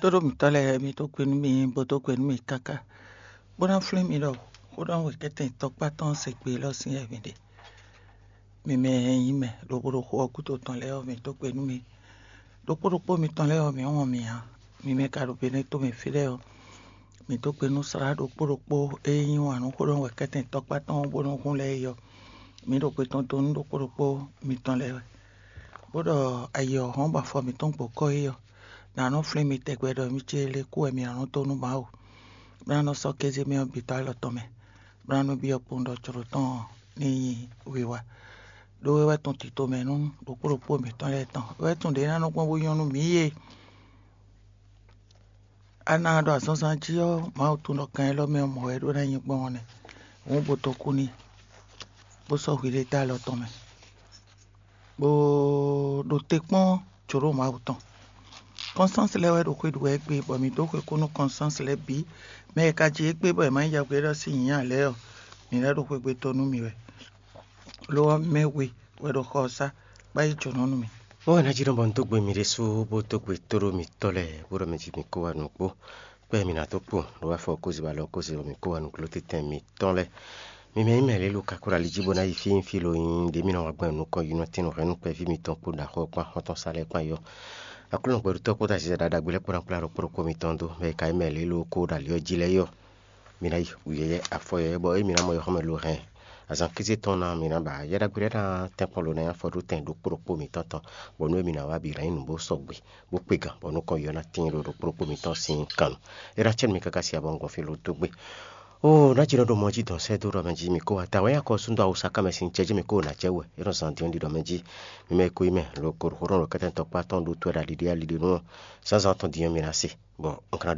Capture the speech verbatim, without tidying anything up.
Tóɖó mǐtɔn lɛ́ɛ, mi dó gbe nú mì, bó dó gbe nú mì káká, bó ná flín mi ɖɔ xó ɖɔ wɛ kɛ́tɛn tɔkpá tɔn se gbe élɔ́ sín wɛ mi ɖe. Mi mɛ e nyí mɛ ɖokpó ɖo xó ɔ́ gúdo tɔn lɛ́ɛ ɔ́, mi dó gbe nú mì. Ɖokpó ɖokpó mitɔn lɛ́ɛ ɔ́, mǐ wɔn mǐ ǎ. Mi mɛ ka ɖo Benɛ́to mɛ fí lɛ́ɛ ɔ́, mǐ dó gbe nú slá ɖokpó ɖokpó e yí wǎn nú xó ɖɔ wɛ kɛ́tɛn tɔkpá tɔn bó nɔ́ hun lɛ́ɛ é ɔ́, mǐ ɖo gbe tɔn dó nú ɖokpó ɖokpó mitɔn lɛ́ɛ wɛ. Bó ɖɔ ayi ɔ́ hɔn bɔ afɔ mǐtɔn gbɔ kɔ́ é ɔ́, nǎ nɔ flín mi tɛgbɛ ɖɔ mì ce le kú wɛ mǐ nɔ dó nú Mawu, bó ná nɔ sɔ́ kéze mɛ ɔ́ bǐ dó alɔ tɔn mɛ, bó ná nɔ byɔ́ kpowun ɖɔ jlǒ tɔn ní nyí wiwa. Ɖó é wɛ tɔn tito mɛ nú ɖokpó ɖokpó mǐtɔn lɛ́ɛ tɔn. É wɛ tɔn ɖě ná nɔ gbɔn bó nyɔ́ nú mǐ yě. A ná ɖo azɔnzan jí ɔ́, Mawu tunwun ɖɔ kan élɔ́ mɛ ɔ́ mɔ̌ wɛ é ɖó ná nyí gbɔn ɔ́ nɛ́. Hǔn bo dó kú n'i, bó sɔ́ hwi ɖé dó alɔ tɔn mɛ, bó ɖo te kpɔ́n jǒɖo Mawu tɔn. Kɔnstáns lɛ́ɛ wɛ ɖo xwé ɖu wɛ égbé, bɔ mǐ dó xwé kú nú Kɔnstáns lɛ́ɛ bǐ. Mɛ e ka ji égbé bɔ è ma nyí yɛhweɖɔ sín nyǐ ǎ lɛ́ɛ ɔ́, mǐ lɛ́ ɖo xwé gbe dó nú mi wɛ. Lo ɔ́, mɛ we wɛ ɖo xɔ ɔ́ sá, bó yi jǒnɔ nú mì. Ó wɛ ná jí nɔ bɔ un dó gbe mi ɖésú, bó dó gbe tóɖó mitɔ́ lɛ́ɛ, bó ɖɔ mɛ jí mi kó wá nǔgbó. Kpɛ́ mi ná dó kpɔ́n ɖo wá fɔ kózibá lɔ kóze bɔ mi kó wá nǔgló tɛ́tɛn mitɔn lɛ́ɛ. Mi mɛ nyí mɛ lě lo ka kó ɖo ali jí bó ná yi fí fí lo nyi ɖě mi nɔ wá gbɔn nukɔn yi nɔ tín nǔ hɛn nú kpɛví mitɔn kpó ɖaxó kpó axɔ́ntɔn sa lɛ́ɛ kpán yɔ. Aklúnɔ gbɛɖutɔ́ kpódó aziza ɖaɖa gbe lɛ́ɛ kpó ná kplá ɖokpó ɖokpó mitɔn dó, mɛ e ka nyí mɛ lě lo kó ɖo ali ɔ́ jí lɛ́ɛ yɔ. Mi ná yi wǔyɛ́yɛ́ afɔ yɔ̌yɔ́ bɔ émi ná mɔ yɔxɔ́mɛ lo hɛn azǎn kéze tɔn ná, mi ná ba yɛ́ ɖagbe lɛ́ɛ ná tɛ́nkpɔ́n lo ná nyí afɔ ɖó tɛn ɖokpó ɖokpó mitɔn tɔn, bɔ nú émi ná wá bǐ ná nyí nǔ bó sɔgbe, bó kpe gǎn, bɔ nukɔn yɔ ná tíin ɖo ɖokpó ɖokpó mitɔn sín kan nu. É ná cɛ́ nú mi káká si abɔ un gbɔn fí lo dó gbe. Oo, ná jí nɔ ɖo mɔ jí dɔn sɛ́ dó ɖɔ mɛ jí mi kó wá ta wɛ nyí akɔ súnnu awusa ká mɛ sín cɛ jí mi kó wá ná cɛ wɛ, é nɔ zan dín ɖiɖɔ mɛ jí. Mi mɛ ko yi mɛ lo ko ɖo xó ɖɔ kɛ́tɛn tɔkpá tɔn ɖó tó wɛ ɖo ali ɖé ali ɖé nú ɔ́, zǎnzǎn tɔn din ɔ́ mi ná se, bɔ un ka ná